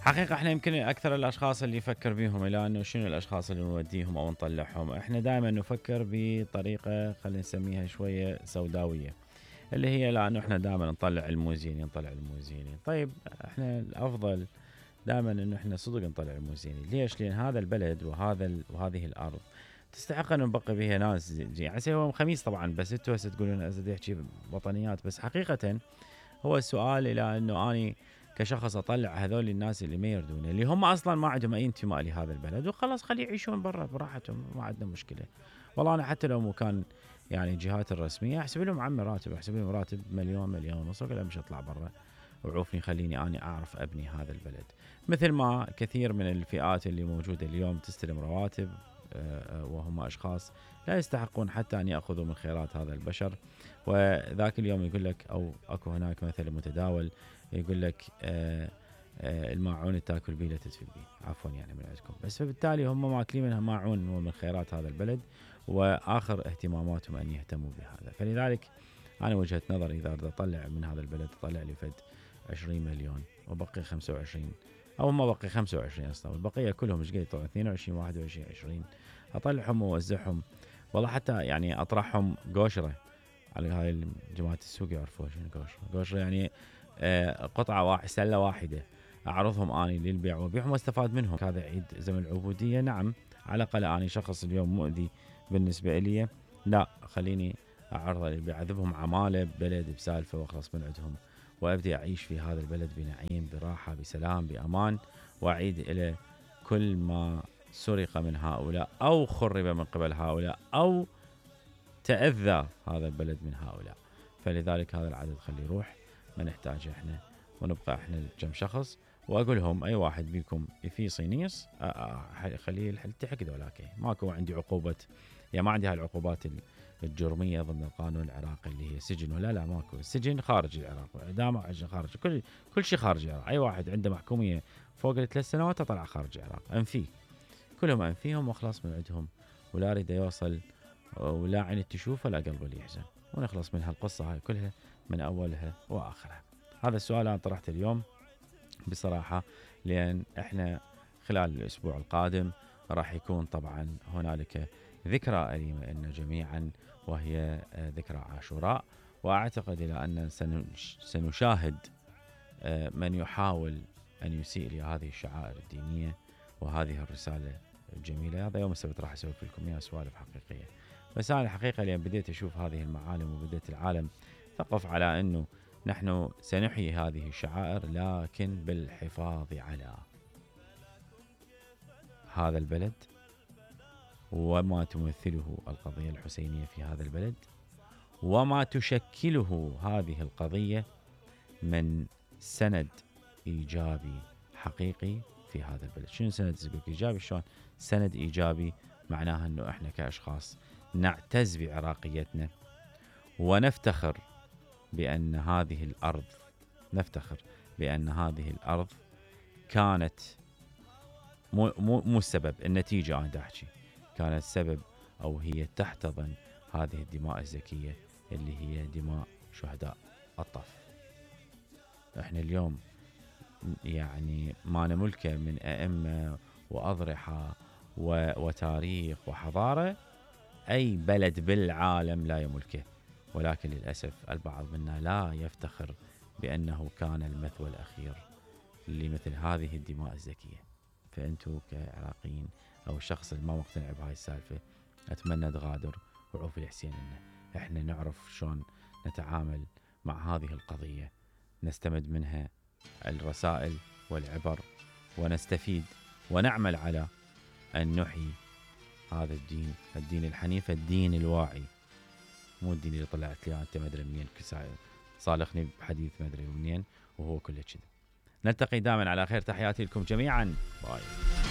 حقيقة احنا يمكن اكثر الاشخاص اللي يفكر بيهم الى انه شنو الاشخاص اللي نوديهم او نطلعهم، احنا دائما نفكر بطريقة خلينا نسميها شوية سوداوية، اللي هي لانه احنا دائما نطلع الموزيني. طيب احنا الافضل دائما انه احنا صدق نطلع الموزيني. ليش؟ لان هذا البلد وهذه الارض تستحق ان نبقي بها ناس. يعني هو خميس طبعا، بس انتوا هسه تقولون ازيد يحكي وطنيات، بس حقيقة هو السؤال الى انه اني كشخص اطلع هذول الناس اللي ما يردون، اللي هم اصلا ما عندهم اي انتماء لهذا البلد، وخلاص خليه يعيشون برا براحتهم، ما عندنا مشكله. والله انا حتى لو كان يعني الجهات الرسميه احسب لهم عمي راتب، احسب لهم راتب مليون ونص، ولا مش اطلع برا وعوفني خليني اني اعرف ابني هذا البلد. مثل ما كثير من الفئات اللي موجوده اليوم تستلم رواتب وهم اشخاص لا يستحقون حتى ان ياخذوا من خيرات هذا البشر. وذاك اليوم يقول لك، او اكو هناك مثل متداول يقول لك الماعون تاكل بيه لا تدفن بيه، عفوا يعني من عندكم. بس فبالتالي هم ماكلين منها ماعون ومن خيرات هذا البلد، واخر اهتماماتهم ان يهتموا بهذا. فلذلك انا وجهة نظري اذا اريد اطلع من هذا البلد اطلع لي فد 20 مليون وبقي 25، او ما بقي 25 اصلا، والبقيه كلهم ايش قد طبعا 22 21 20 اطلعهم واوزعهم. والله حتى يعني اطرحهم قوشره على هاي جماعه السوق يعرفوها شنو قوشره يعني قطعه سله واحده اعرضهم اني للبيع وبيعهم واستفاد منهم. هذا عيد زمن العبوديه، نعم على الاقل اني شخص اليوم مؤذي بالنسبه لي، لا خليني اعرضه للبيع، اذبهم عماله ببلد بسالفه واخلص من عندهم، وابدي اعيش في هذا البلد بنعيم براحه بسلام بامان، واعيد الى كل ما سرق من هؤلاء او خرب من قبل هؤلاء او تاذى هذا البلد من هؤلاء. فلذلك هذا العدد خليه يروح، ما نحتاجه احنا، ونبقى احنا كم شخص. واقول لهم اي واحد بيكم في صينيس خليه يلتحق ذولاك، ماكو عندي عقوبه، يعني ما عندي هاي العقوبات الجرميه ضمن القانون العراقي اللي هي سجن، ولا لا ماكو السجن خارج العراق، اعدام خارج، كل شيء خارج العراق. اي واحد عنده محكوميه فوق ال3 سنوات طلع خارج العراق، انفيه كلهم انفيهم واخلص من عندهم، ولا اريد يوصل ولا عين تشوف ولا قلبه اللي يحزن، ونخلص من هالقصه هاي كلها من اولها واخرها. هذا السؤال انا طرحته اليوم بصراحه، لان احنا خلال الاسبوع القادم راح يكون طبعا هنالك ذكرى أليمة لنا جميعا، وهي ذكرى عاشوراء. واعتقد الى ان سنشاهد من يحاول ان يسيء لهذه الشعائر الدينيه وهذه الرساله الجميله. هذا يوم السبت راح اسوي لكم اياها سوالف حقيقيه، بس انا الحقيقه لان بديت اشوف هذه المعالم وبديت العالم ثقف على انه نحن سنحيي هذه الشعائر، لكن بالحفاظ على هذا البلد وما تمثله القضية الحسينية في هذا البلد، وما تشكله هذه القضية من سند إيجابي حقيقي في هذا البلد. شنو سند إيجابي؟ شلون سند إيجابي؟ معناها أنه إحنا كأشخاص نعتز بعراقيتنا، ونفتخر بأن هذه الأرض كانت مو السبب، النتيجة أنا أحكي كانت سبب أو هي تحتضن هذه الدماء الزكية اللي هي دماء شهداء الطف. احنا اليوم يعني ما نملكه من أئمة وأضرحة وتاريخ وحضارة أي بلد بالعالم لا يملكه، ولكن للأسف البعض منا لا يفتخر بأنه كان المثوى الأخير لمثل هذه الدماء الزكية. فأنتوا كعراقيين أو الشخص اللي ما مقتنع بهاي السالفة أتمنى تغادر وعوف الحسين لنا. احنا نعرف شلون نتعامل مع هذه القضية، نستمد منها الرسائل والعبر ونستفيد ونعمل على أن نحيي هذا الدين الحنيف، الدين الواعي، مو الدين اللي طلعت لي أنت ما أدري منين صالحني بحديث ما أدري منين وهو كله كذب. نلتقي دائما على خير، تحياتي لكم جميعا، باي.